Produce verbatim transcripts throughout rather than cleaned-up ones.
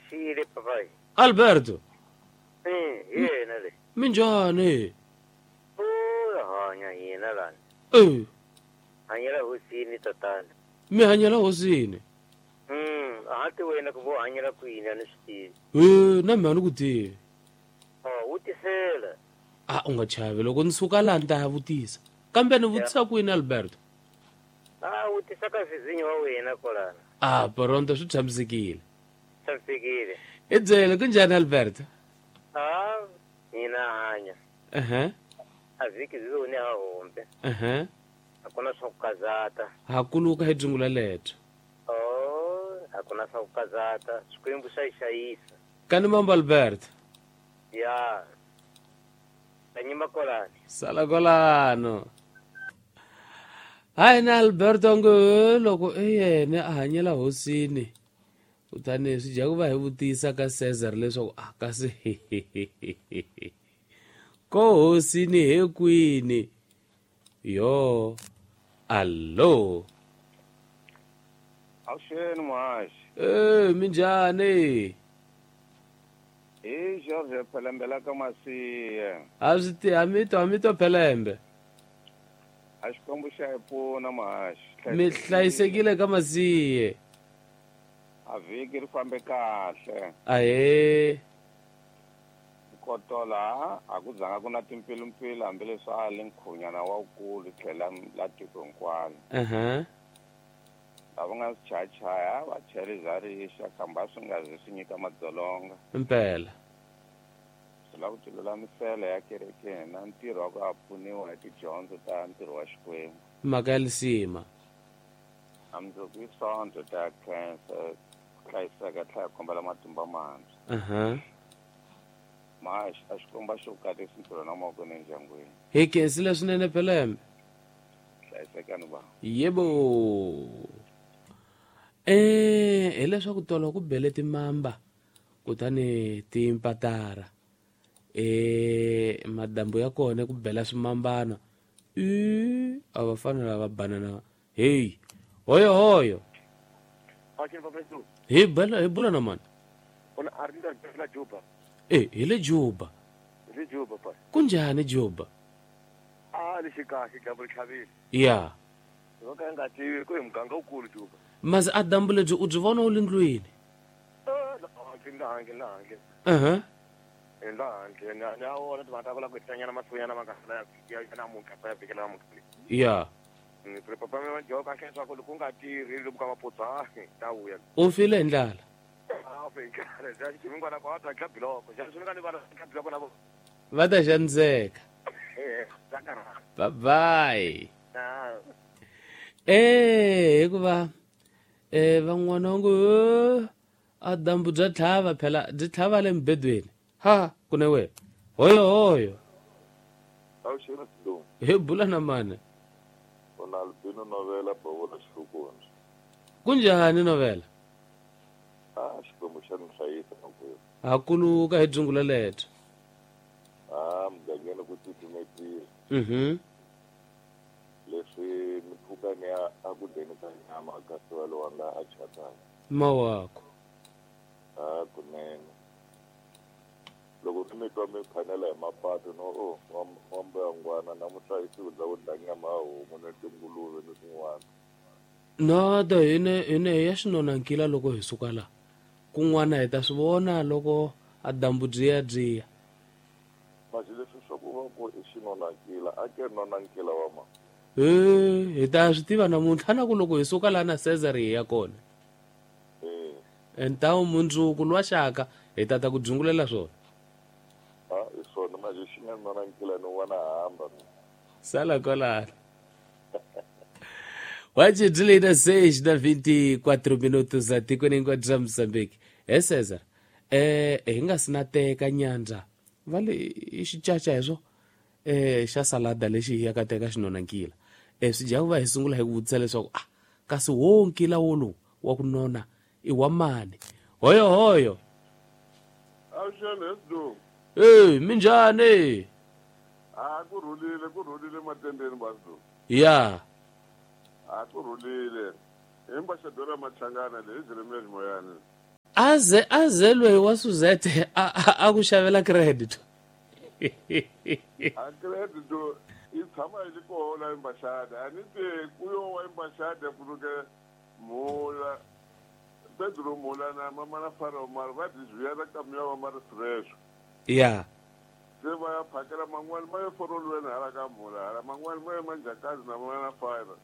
Xile papai. Alberto. Eh, yena le. Minjhani? O hanya yena lana. Eh. Hanyela hosini tatana. Mi hanyela hosini? Mm, a ti wena ku vo hanyela kwini a ni swi tivi. Eh, na mina ni ku tivi. Oh, vutisela. A u nga chavi loko ni suka laha ni ta ya vutisa. Kambe ni vutisa kwini Alberto? A vutisa ka vizinyo wa wena kwalana. Ah, pronto swi tshamisekile. Tshamisekile. I byele ku njhani Alberto? Ah, hina hanya. Uh-huh. A vhiki byi ni ha hombe. Uh-huh. A ku na swa ku kazata. Ha kuluka hi dzungula leto. Oh, a ku na swa ku kazata. Xikwembu xa yi xayisa. Kani mambo Alberto? Ya. Tanyima kolani. Sala kolano. Hayi na Alberto ngo loko i yena a hanyela hosini. Kutani swi dya ku va hi vutisa ka Cesar leswaku a kasi ko hosini he kwini. Yo, allo. Awuxeni muhaxi. Eh, minjhani? Hi George Phelembe la ka Masiye. A swi ti a mi twa mi twa Phelembe. A Xikwembu xa hi pfuna muhaxi. Mi hlayisekile ka Masiye. A vhiki ri fambe kahle. Ahee. Kotola a ku zanga ku na timpfilumpfilu hambileswi a li nkhunyana wa wukulu tlhela la tiko hinkwalo. Uh-huh. Lava nga swi chayachaya va chele bya rixa kambe a swi nga zi swi nyika madzolonga. Mpela. Swi lava ku tilulamisela ya kerekeni na ntirho wa ku a pfuniwa hi tidyondzo ta ntirho wa Xikwembu. Mhaka ya lisima. A mundzuku i Sonto ta khensa ku hlayiseka tlhela kombela matimba mantshwa. Uh-huh. Maxi a Xikwembu a xi ku katisi ntirho na mavoko ni endyangwini. Hi khensile swinene Phelembe. Hlayisekani va. Yebo. Eh, hileswaku tolo ku bele timamba kutani timpatara. Eh, madambu ya kona ku bela swimambana. I a va fana lava banana. Hey, hoyo hoyo. Hi bela hi bula na mani. Ona arinda la Juba. Eh, hi le Juba. Hi le Juba pa. Kunjhani Juba? Ah, le xikahle dyambu ri tlhavile. Ya. Yo ka nga tivi ku hi muganga wukulu Juba. Mas a dyambu lebyi u byi vona u le ndlwini? Eh, ndzi la handle, la handle. Uh-huh. La handle, na na wona timhaka ta ku lava ku hetanyana masiku ma nga ya ya namuntlha ya vhiki la namuntlha. Ya. Ni ri papa mi va kahle leswaku loko u nga tirhi loko ka maputsa ta vuya. U file hi ndlala. Va ta xaniseka. Bye bye. Eh, hikuva eh van'wana va ngo a dyambu bya tlhava phela byi tlhava le mubedweni. Ha, ku ne we. Hoyo hoyo. Awuxeni Sidumo. Hi bula na mani. Ona Albino Novela Bavona Xihlukundzi. Kunjhani Novela? Ah, Xikwembu xa ni hlayisa makwerhu. Ha kuluka hi dzungula leto. Ah, mugangeni ku titimetile. Mhm. Leswi ni pfuka ni ya a ku dyeni ka nyama kasi wa lowa nga a chatana. Mawako. Ah, kunene. Loko ni mi twa mi phanela hi mapatu no o wa mbuyangwana namuntlha i siku bya ku dya nyama ya homu ni tinguluve ni swin'wana. No, da hine hine ya xinonankila loko hi suka la. Kun'wana hi ta swi vona loko a dyambu byi ya byi ya. Masi leswi swa ku va ku i xinonankila a ke nonankila wa ma. Eh, hi ta swi tiva namuntlha na ku loko hi suka la na Cesar hi ya kona. Eh. Entawu mundzuku lwa xaka hi ta ta ku dzungulela swona. Ah, i swona manje xi nga nonankila ni vona hamba. Sala kwalano. Hoje de seis da vinte e quatro minutos atikweni hinkwaro ra Mozambique. He Cesar, eh hi nga si na teka nyandza va le i xicaca hi swo eh xa salada lexi hi yaka teka xinonankila. Eh swi dya ku va hi sungula hi ku vutisa leswaku ah kasi wo nkila wolowu wa ku nona i wa mani. Hoyo hoyo. Awuxeni Sidumo. Eh, minjhani? Ah, ku rhulile, ku rhulile matendeni ba Sidumo. Ya. A ku rhulile. Hi Mbaxadora Machangana leyi Jeremiah Moyani. Aze aze loyi wa Suzette a ku xavela credit. A credit i tshama yi ri kona embaxada a ni te ku yo wa embaxada ku luke mula Pedro Mula na mama na Faro mara va desviar caminhão mara fresh. Yeah. Se va ya phakela man'wana ma ya forolweni hala ka mula hala man'wana ma ya manjakazi na mama na Faro.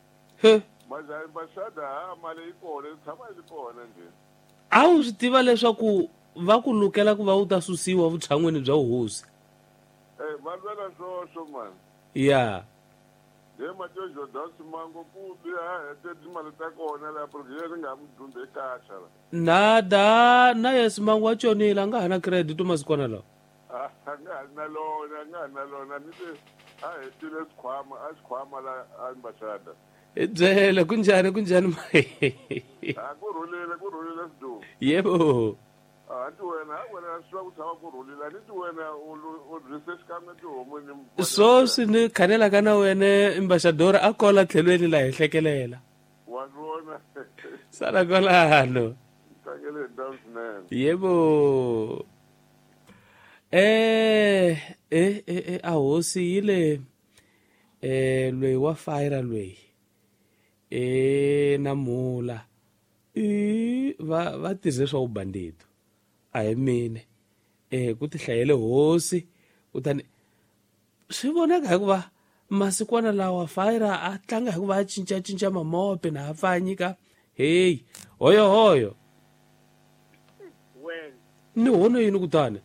He. Maja embaxada ha mali yi kona yi tshama yi ri kona njhe. A wu swi tiva leswaku va ku lukela ku va u ta susiwa vutshan'wini bya vuhosi. Eh va lwela swoswo man. Yeah. Ye Mateo Jordan Simango ku biha hete timali ta kona la porque ri nga mu dumbe kahle la. Nada na ye Simango wa tshonile a nga ha na credit masikwana lawa. A nga ha na lona a nga ha na lona ni te a hetile xikhwama a xikhwama la embaxada. I byele kunjhani kunjhani A ku rhulile ku rhulile Sidumo. Yebo. A ti wena a wena swi ku tshama ku rhulile ni ti wena u rise xikan'we tihomu ni swoswi ni khanelaka na wena embaxador a kola tlhelweni la hi hlekelela. Wa vona. Sala kwalano. Tsakele ndhawu swinene. Yebo. Eh eh eh a hosi yi le eh loyi wa fire loyi eh na mula i va va tirhe swa ubandito a hi mine eh ku tihlayele hosi kutani swi vonaka hikuva masikwana lawa fire a tlanga hikuva a cinca cinca mamope na a pfanyika hey hoyo hoyo wena ni hono yini kutani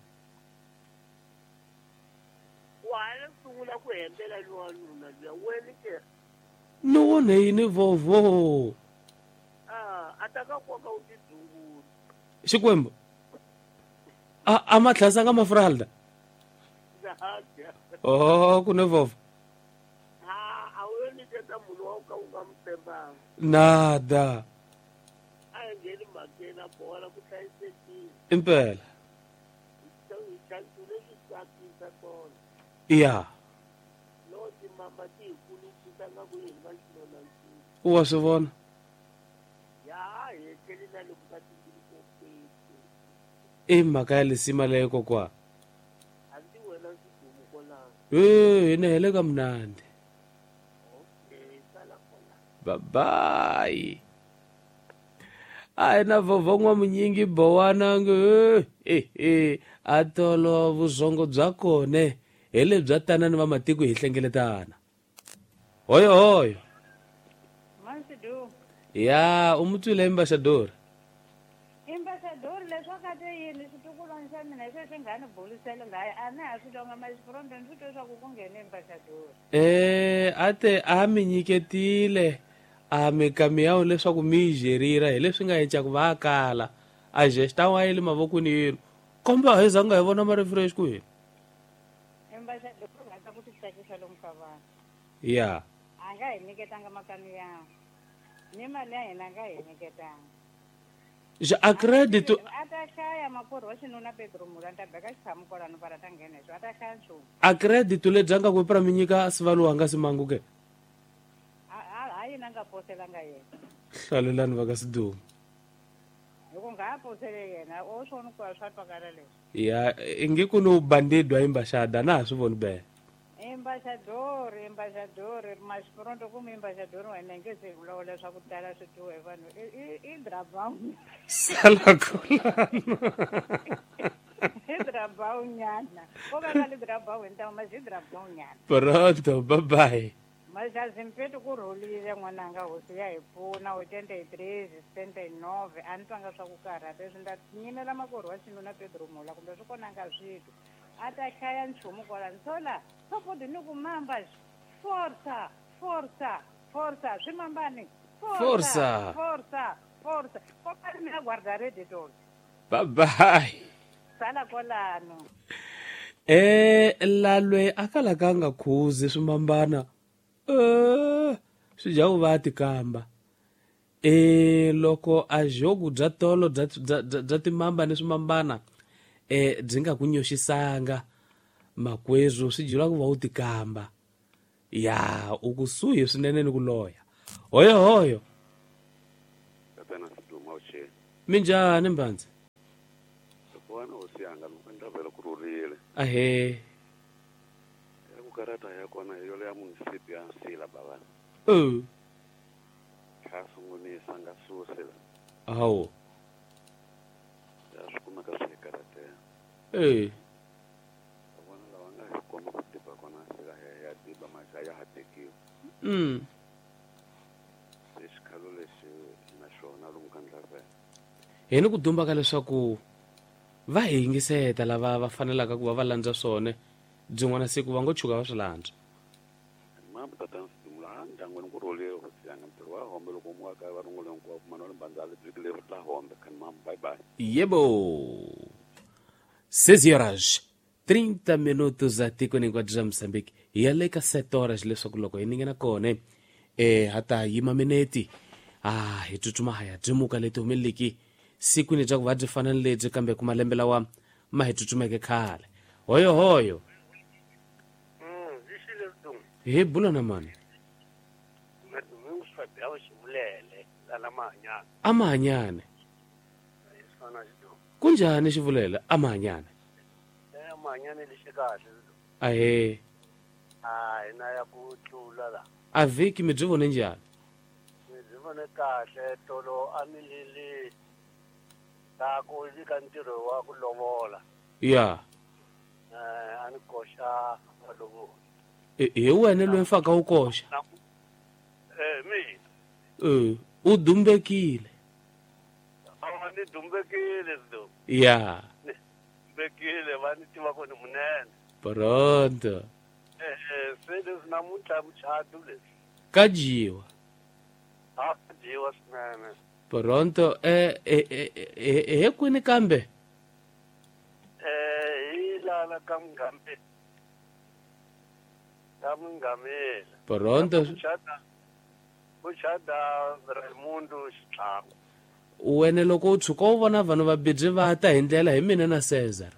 wa le sungula ku hembela lowanuna luya wena ke ni wone yini vovo a a ta ka koka u tidzungula Xikwembu a a ma tlhasanga mafralda oh ku ne vovo a a wu yo nyiketa munhu wa ka u nga mu tshembanga nada a hi ngheni mhakeni a bola ku hlayisekile impela hi leswi tsakisa kona ya no timama ti hi kulukisa nga ku yini va xinona u wa swi vona ya hi tlheli na loko ka timbili i mhaka ya lisima leyo kokwa hambi wena Sidumo kwalano e hi ne hele ka mnandi okay sala kona babayi a hi na vovho n'wamunyingi bowana nge eh eh a tolo vuzongo bya kone hi lebya tanani va matiko hi hlengeletana hoyo hoyo Mansidu ya u mu twile embaxador embaxador leswaku a te yini xitukulwana xa mina hi sweswi nga ni bulisela laya a na ha swi twanga maxifurondo ni swi twe swa ku ku nghene embaxador eh a te a mi nyiketile a mi kamiyawu leswaku mi yi jerira hi leswi nga endla ku va kala a gesta wa yi le mavokweni yenu komba hi zanga hi vona ma refresh ku yini embaxador u rhandza ku ti tsakisa lomu ka vanhu ya a nga hi nyiketanga makamiyawu ni mali ya hina a nga hi nyiketanga xa a credit a ta hlaya makwerhu wa xinuna Pedro Mula ni ta beka xitshamu kwalano para ta nghena hi swo a ta hlaya nchumu a credit lebyi nga ku pra mi nyika sivaluwa nga Simango ke a yini a nga poselanga yena hlalelani va ka Sidumo hi ku nga ha posele yena o swona ku a swa twakala leswi ya inge ku ni ubandidwa embaxada na ha swi voni bele embaxador embaxador maxifurondo kumbe embaxador wena nge se vulavula swa ku tala swi twiwa hi vanhu i drabawunyana sala kolano i drabawunyana ko ka nga li drabawu hi ntamu masi i drabawunyana pronto bye bye Maxazimpetu ku rhulile n'wananga hosi ya hi pfuna oitenta e três setenta e nove a ni twanga swa ku karhata leswi ni ta nyimela makwerhu wa xinuna Pedro Mula kumbe swi kona nga switwi a ta hlaya nchumu kwalano sola sopodi ni ku mamba forza forza forza swi mambani Forza. forza forza kokani mina guarda rede tolo bye bye sala kwalano eh lalwe a kalaka nga khuzi swimambana eh swi dya ku va tikamba eh loko a joku bya tolo bya bya timamba ni swimambana eh byi nga ku nyoxisanga makwezu swi dyela ku va u tikamba ya u kusuhi swinene ni ku loya hoyo hoyo Tatana Sidumo awuxeni minjhani mbandzi yanga loko ndlavela ku rhurile. Ahee. Ku karata ya kona hi yona ya munisipi ya Nsila bava. Eh. Kha sungunisa nga susi la. Hawu. Ya swi kumeka swi karatela. Eh. Vona lava nga hi komba ku tiba kona Nsila ya ya tiba maxa ya ha tekiwa. Mm. Xikhalo lexi na xona lomu ka ndlavela. Hi ni ku dumba ka leswaku va hi yingiseta lava va fanelaka ku va va landza swona byin'wana siku va ngo tshuka va swi landza. Mama tata nsidumula ndyangwini ku rhulile hosi yanga ntirho wa hombe loko mu kaya va rungule hinkwako Manuel Mbandzali vhiki leri la hombe khani mama bye bye. Yebo. seis horas trinta minutos atikweni hinkwaro ra Mozambique. Hi ya le ka sete horas leswaku loko hi ningena kona eh ha ta yima mineti ah hi tsutsuma ha ya byimuka leti humeleleki sikwini bya ku va byi fana ni lebyi kambe ku malembe lawa ma hi tsutsumeke khale. Hoyo hoyo. Hi bula na mani? Amahanyane. Kunjani xivulele amahanyane? Amahanyane lexi kahle. Ahee. Ah, hina ya ku tlula la. A vhiki mi byi vone njhani? Mi byi vone kahle tolo a mi lili ta ku ka ntirho wa ku lovola. Ya. Eh, a ni koxa malovola. Hi wena loyi mfaka wu koxa? Eh, mina. Eh, u dumbekile. A ni dumbekile do. Ya. Dumbekile va ni tiva ku ni munene. Pronto. Eh, eh, se leswi namuntlha muchato leswi. Ka dyiwa. A ka dyiwa swinene. Pronto, eh eh eh he kwini kambe? Eh, hi lala ka Mungameli. Ka Mungameli. Pronto. Muchata. Muchata Raimundo Xitlhangu. Wena loko u tshuka u vona vanhu va bidzi va ta hi ndlela hi mina na Cesar.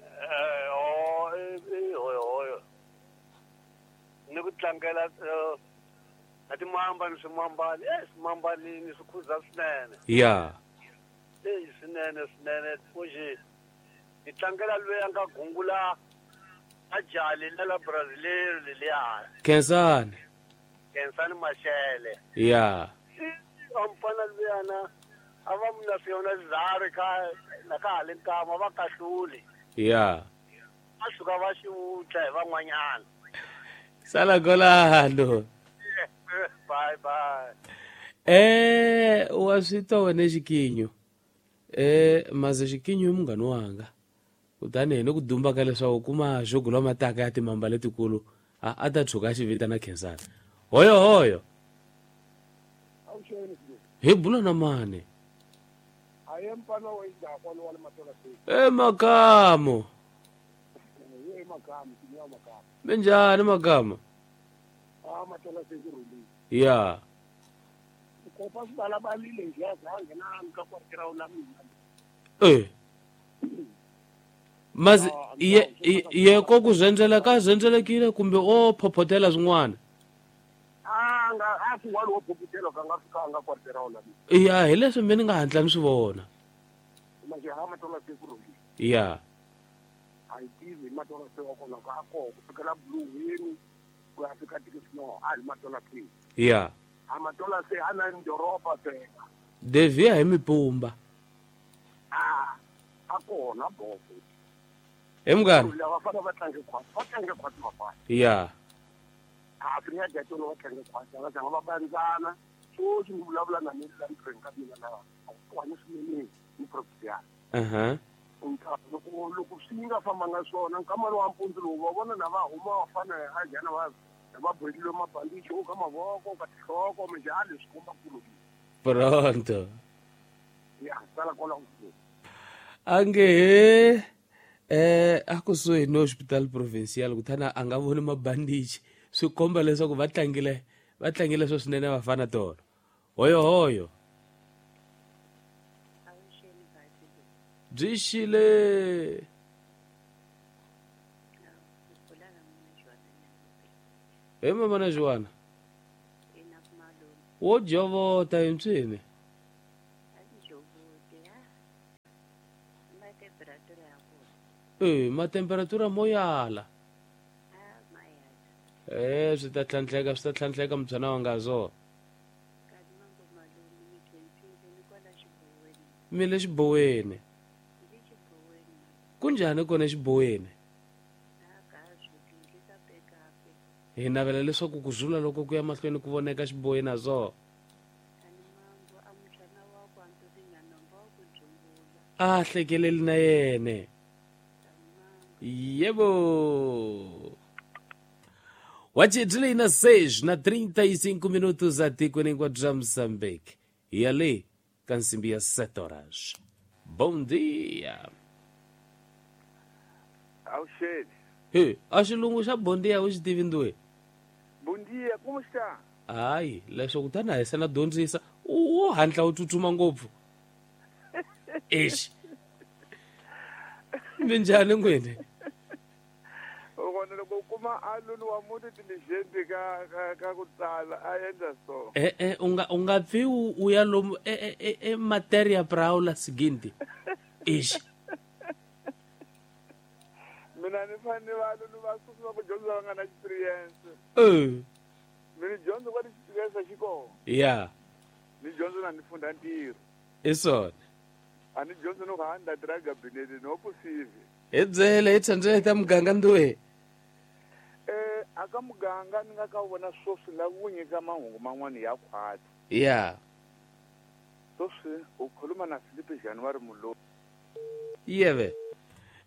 Eh, oh, eh, hoyo hoyo. Ni ku tlangela a timamba ni swimambali, eh swimambali ni swi khuza swinene. Ya. Eh, swinene swinene fuxi. Ni tlangela loyi a nga gungula a jali la la Brazil leliya. Khensani. Khensani Mashele. Ya. Amfana luyana a va muna swona zari ka na ka le nkama va kahluli. Ya. A suka va xiwutla hi van'wanyana. Sala golando. Bye bye. Eh, wa swi twa wena xikinyo. Eh, maze xikinyo i munghana wanga. Kutani hi ni ku dumba ka leswaku kuma jogo lwa mataka ya timamba letikulu a a ta tshuka a xi vitana Khensani. Hoyo hoyo. Hi bula na mani? E makamo. Minjhani makamo? Ya. Eh. Mazi ye ye ko ku zwendzela ka zwenzelekile kumbe o phophotela swin'wana? Ya hi leswi mi ni nga hatla ni swi vona. Ya. Ya. Devia hi mipumba. He munghana. Ya. Aha. Pronto. Ange eh a kusuhi no hospital provincial kutani a nga voni mabandichi swi komba leswaku va tlangile va tlangile swo swinene vafana tolo. Hoyo hoyo. Byi xile. He mama na Joana. Wo jovota hi ntswini. Temperatura ya kona. Eh, ma temperatura mo yala. Ah, ma yala. Eh, swi ta tlhantlheka, swi ta tlhantlheka mbyana wa nga zo. Kani mambo malume ni khensile ni kwala xiboweni. Mi le xiboweni. Ni le xiboweni. Kunjhani kona exiboweni? Ah, ka zwi ka bekape. Hi navela leswaku ku zula loko ku ya mahlweni ku voneka xiboweni azo. Kani mambo a mutshana wa ku antoringa nomba wa ku dzungula. A hlekeleli na yene. Yebo. Wachidlei na seis na trinta e cinco minutos atikweni hinkwabyo bya Moçambique. E ali ka nsimbi ya sete horas. Bom dia. Awuxeni. He, a xilungu xa bom dia u xi tivi nduwe? Bom dia, como está? Hayi, leswo kutani a hi se na dyondzisa, wo hatla u tsutsuma ngopfu. Exi. Minjhani n'wini? Kona loko u kuma aluni wa munhu diligent ka ka ka ku tsala a endla so. Eh eh u nga u nga pfi u ya lomu e e e materia pra aula seguinte. Exi. Mina ni fanele valuni va sungula ku dyondza va nga na experience. Eh. Mina dyondza kwa experience xi kona. Yeah. Ni dyondza na ni funda ntirho. I swona. A ni dyondza no handa dra gabinete no possible. Hi byele hi tsandzele ta muganga nduwe. Eh aka muganga ni nga ka vona swoswi la ku nyika mahungu man'wana ya khwatsi. Yeah. Swoswi u khuluma na Philippe January Mulo. Yeve.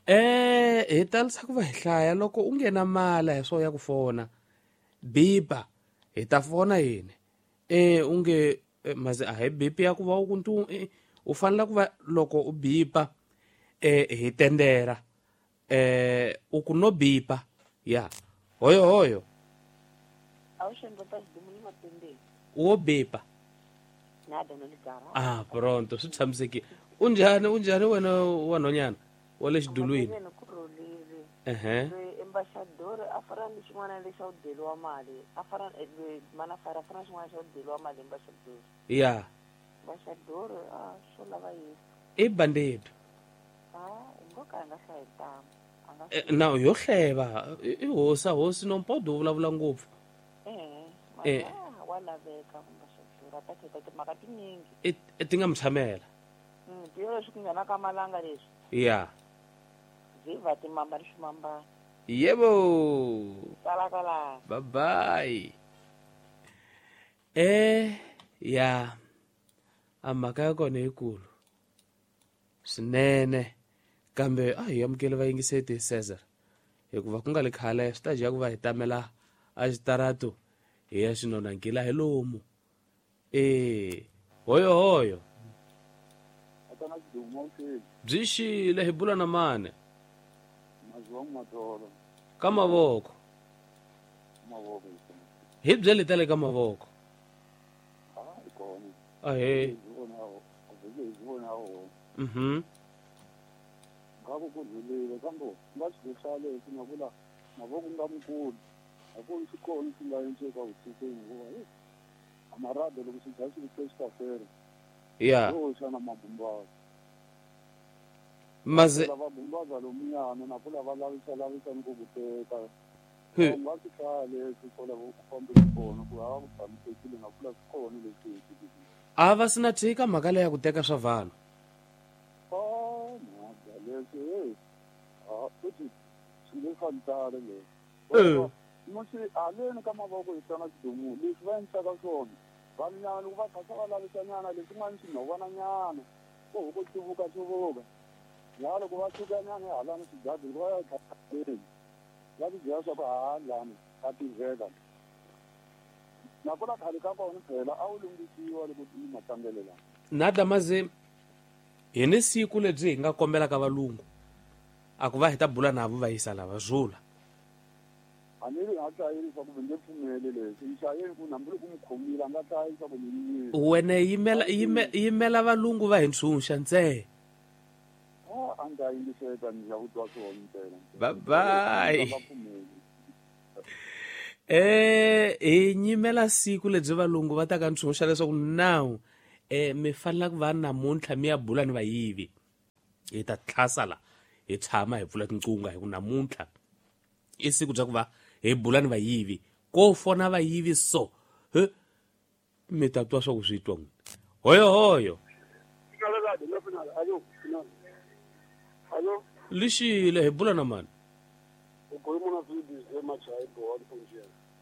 Eh hi talisa ku va hi hlaya loko u nghena mala hi swo ya ku fona. Bipa hi ta fona yini? Eh u nge maze a hi bipi ya ku va u ku ntu u fanele ku va loko u bipa eh hi tendera. Eh u ku no bipa. Ya. Hoyo hoyo. Awuxendlota xidumu ni mapembeni. Wo bipa. Nada no ligara. Ah, pronto, swi tshamisekile. Unjhani unjhani wena wa nhonyana? Wa le xidulwini. Ehe. Embaixador a fana ni xin'wana lexi a wu deliwa mali. A fana mana fara fana xin'wana xa wu deliwa mali embaixador. Ya. Embaixador a swo lava Yesu. I bandido. Ah, ngo ka nga hlayi ntamu. Na yo hleva i hosa hosi no mpodo vulavula ngopfu. Eh, eh wa laveka embaixador a ta kheta timhaka tinyingi. I ti nga mi tshamela. Mm, tiyo leswi ku nghena ka malanga leswi. Ya. Viva timamba ni swimambana. Yebo. Kala kala. Bye bye. Eh, ya. A mhaka ya kona yikulu. Swinene. Kambe a hi amukele vayingiseti Cesar. Hikuva ku nga le khale swi ta dya ku va hi tamela a xitarato hi ya xinonankila hi lomu. Eh, hoyo hoyo. Byi xile hi bula na mani. Ka mavoko. Hi byele ta le ka mavoko. Ahee. Mhm. Ngako ku rhulile kambe nga swi swa leswi na vula mavoko nga mukulu a ku swi kona swi nga endleka vusikwini hikuva hi amarado loko swi dya swi swi ta fela. Ya. Yo xana mabumbaza. Maze lava bumbaza lomuyana na kula va lavisa lavisa ni ku ku teka. Nga swi hlaya leswi sola ku fambisa kona ku hava ku tshamisekile na kula swi kona leswi. A va sina tshika mhaka leya ku teka swa vanhu. Oh, mhaka leswi ah futhi swi le fantale leswi. Musi aleni ka mavoko hi tlanga xidumu leswi va endlaka swona vanhu nyana loko va kha va lavisa nyana leswi n'wana swi nhovana nyana ku huku tsivuka tsivuka ya loko va suka nyana halani swigadi loko va ya khaleni va ti byela swa ku halani ka tiveka nakona khale ka kona phela a wu lunghisiwa loko i matlangelo lawa. Nada maze hi ni siku lebyi hi nga kombelaka valungu a ku va hi ta bula navo va yisa lava zula. A ni ri a hlayeli swa ku nge pfumeli leswi ni hlayeli ku hambi loko mi khomile a nga hlayi swa ku ni yimile. Wena yimela yimela valungu va hi ntshunxa ntsena. A ni ta yingiseta ni lava ku twa swona ntsena. Bye bye. Eh hi nyimela siku lebyi valungu va ta ka ntshunxa leswaku now eh mi fanele ku va namuntlha mi ya bula ni vayivi. Hi ta tlhasa la hi tshama hi pfula tinqunga hi ku namuntlha i siku bya ku va hi bula ni vayivi ko fona vayivi so he mi ta twa swa ku swi twa n'wina. Hoyo hoyo. Lixile hi bula na mani?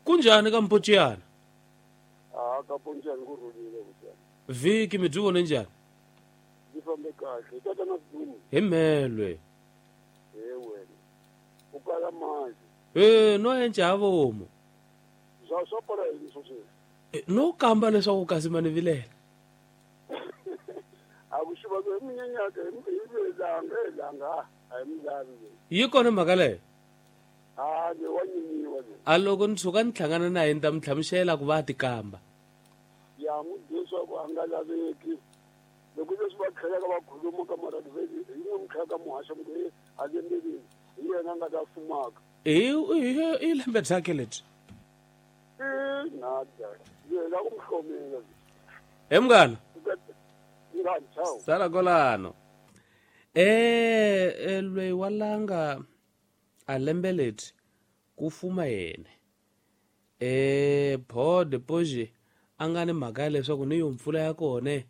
Kunjhani ka Mpociyana? Ah, ka Mpociyana ku rhulile vutiyana. Vhiki mi byi vone njhani? Byi fambe kahle. Tatana Sidumo. Hi mhelwe. He wena. U kala mali. Eh, no enca ha vomu. Swa swa pfala yini swo sweswi? No kamba leswaku kasi mani vilela. A ku xiva ku hi munyenyaka hi vilanga hi langa a hi milavi. Yi kona mhaka leyo? Ah, ni wa nyinyiwa le. A loko ni tshuka ni hlangana na yena ni ta mi hlamusela ku va a tikamba. Ya n'wi byela ku a nga laveki. Loko leswi va tlhelaka va khuluma ka maradiveli hi n'wi mi tlhelaka muhaxa mi ku a lembeleni hi yena a nga ta fumaka. I i lembe byakhe lebyi. I nada. Yena ku mi hlomela. He munghana. Munghana, ciao. Sala kolano. Eh, loyi wa langa a lembe lebyi ku fuma yena. Eh, pod poje a nga ni mhaka ya leswaku ni yo mpfula ya kona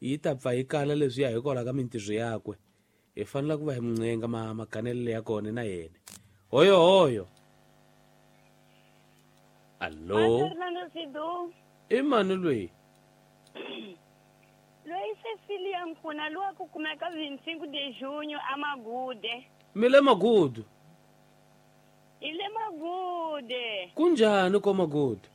yi ta pfa yi kala leswi ya hikwalaho ka mintirho yakwe. Hi fanele ku va hi muncenga ma maganelelo ya kona na yena. Hoyo hoyo. Allo. I mani loyi? Loyi Cecilia Nkuna lowa ku kumeka vinte e cinco de junho a Magude. Mi le Magude? Hi le Magude. Kunjhani ko Magude?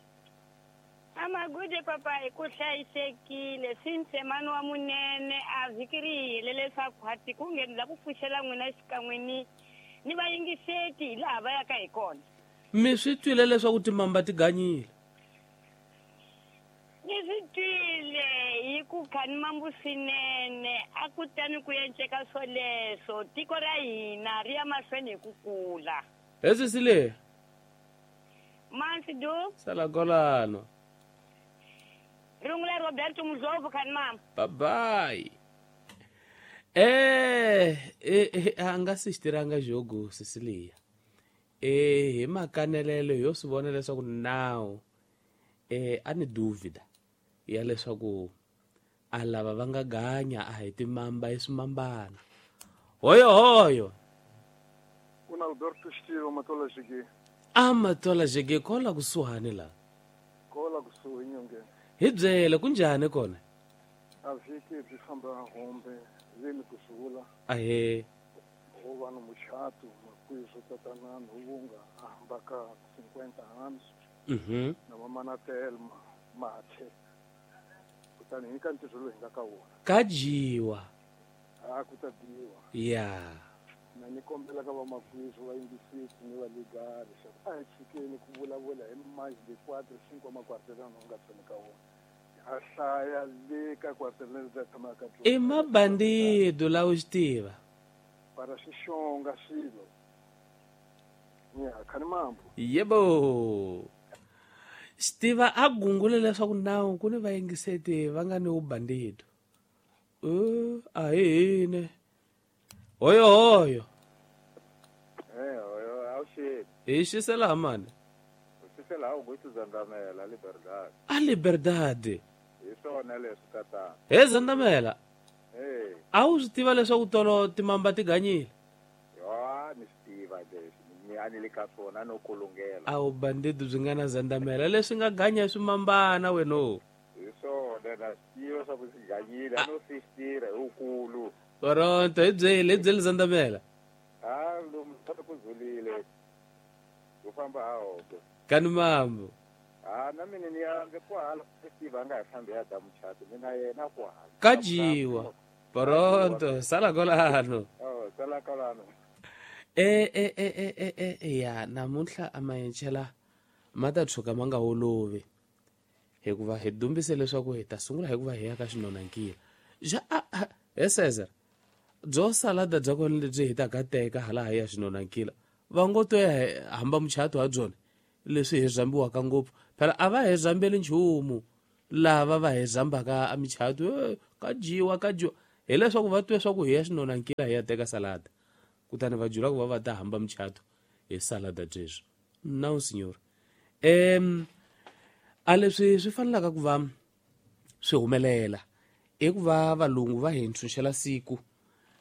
A Magude papa hi ku hlayisekile swintsemani wa munene a vhiki ri hele leswaku hati ku nghenela ku pfuxela n'wina xikan'we ni ni vayingiseti hi laha va yaka hi kona. Mi swi twile leswaku timamba ti ganyile? Ni swi twile hi ku khani mambu swinene a ku tani ku enceka swoleswo tiko ra hina ri ya mahlweni hi ku kula. He Cecilia. Mansidu. Sala kolano. Rungula Roberto Mudlovu khani mama. Bye bye. Eh, eh a nga sisteranga jogo Cecilia. Eh hi makanelelo yo swi vona leswaku now eh a ni dúvida ya leswaku a lava va nga ganya a hi timamba hi swimambana. Hoyo hoyo. Kuna Alberto Xitiro Matola Jege. A Matola Jege kola kusuhani la. Kola kusuhi nyongeni. Hi byele kunjhani kona? A vhiki byi famba hombe leni kusula. Ahe. Ho va no muchato makwizo tatana Nhuvunga a hamba ka cinquenta anos. Mhm. Na mamana Telma Mathe. Kutani hi ka ntirho lowu hi nga ka wona. Ka dyiwa. A ku ta dyiwa. Ya. Na ni kombela ka vamakwizo va yingisisi ni va ligari leswaku a hi tshikeni ku vulavula hi mais de quatro cinco makwartelano u nga tshami ka wona. A hlaya le ka kwartelano leri tshamaka ka I mabandido la u xi tiva. Para xixonga swilo. Ya, khani mambo. Yebo. Xitiva a gungule leswaku nawu ku ni vayingiseti va nga ni vubandido. Eh, a hi hine. Hoyo hoyo. Eh, hoyo a xi. Hi xisela ha mani? U xisela Augusto Zandamela Liberdade. A Liberdade. Hi swona leswi tatana. He Zandamela. Eh. A wu swi tiva leswaku tolo timamba ti ganyile? Ya, ni swi tiva leswi. Ni a ni le ka swona no kulungela. A wu bandido byi nga na Zandamela leswi nga ganya swimambana weno. Hi swona na swi tiva swa ku swi ganyile a no swi tirha hi wukulu. Toronto hi byele hi byele Zandamela. Ah, lomu ku zulile. U famba ha hombe. Kani mambo. Ah, na mina ni ya ndzi kwahala Steve a nga hi fambi ya da muchato mina yena kwahala. Ka dyiwa. Pronto, sala kolano. Oh, sala kolano. Eh eh eh eh eh ya namuntlha a mayenchela ma ta tshuka ma nga olovi. Hikuva hi dumbise leswaku hi ta sungula hikuva hi ya ka xinonankila. Ja he Cesar. Byo salada bya kona lebyi hi ta ka teka hala hi ya xinonankila. Va ngo to ya hamba muchato ha byona leswi hi zambiwaka ngopfu. Phela a va hi zambeli nchumu lava va hi zambaka a michato ka dyiwa ka dyiwa. Hileswaku va twe swa ku hi ya xinonankila hi ya teka salada. Kutani va jula ku va va ta hamba muchato hi salada byeswo. No senhor. Em a leswi swi fanelaka ku va swi humelela i ku va valungu va hi ntshunxela siku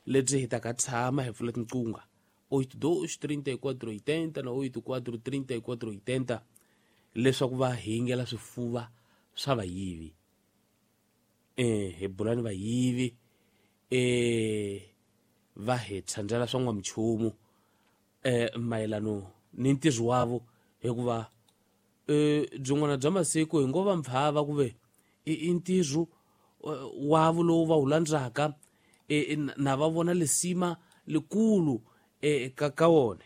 lebyi hi taka tshama hi pfula tinqungha oito dois trinta e quatro oitenta na oito quatro trinta e quatro oitenta leswaku va hingela swifuva swa vayivi. Eh hi bulani vayivi eh va hi tshandzela swa n'wamchumu eh mayelano ni ntirho wavo hikuva eh byin'wana bya masiku hi ngo va mpfhava ku ve i ntirho wavo lowu va wu landzaka na va vona lesima likulu ka ka wona.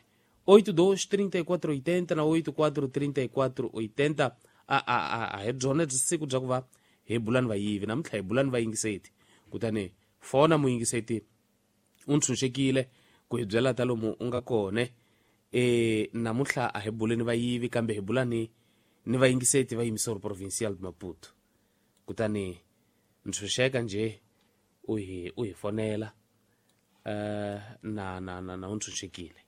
Oito dois trinta e quatro oitenta na oito quatro trinta e quatro oitenta a a a hi byona byi siku bya ku va hi bulani vayivi namuntlha hi bulani vayingiseti. Kutani fona muyingiseti u ntshunxekile ku hi byela ta lomu u nga kona. E namuntlha a hi buleni vayivi kambe hi bulani ni vayingiseti va Emissora Provincial de Maputo. Kutani ntshunxeka nje u hi u hi fonela eh na na na na u ntshunxekile.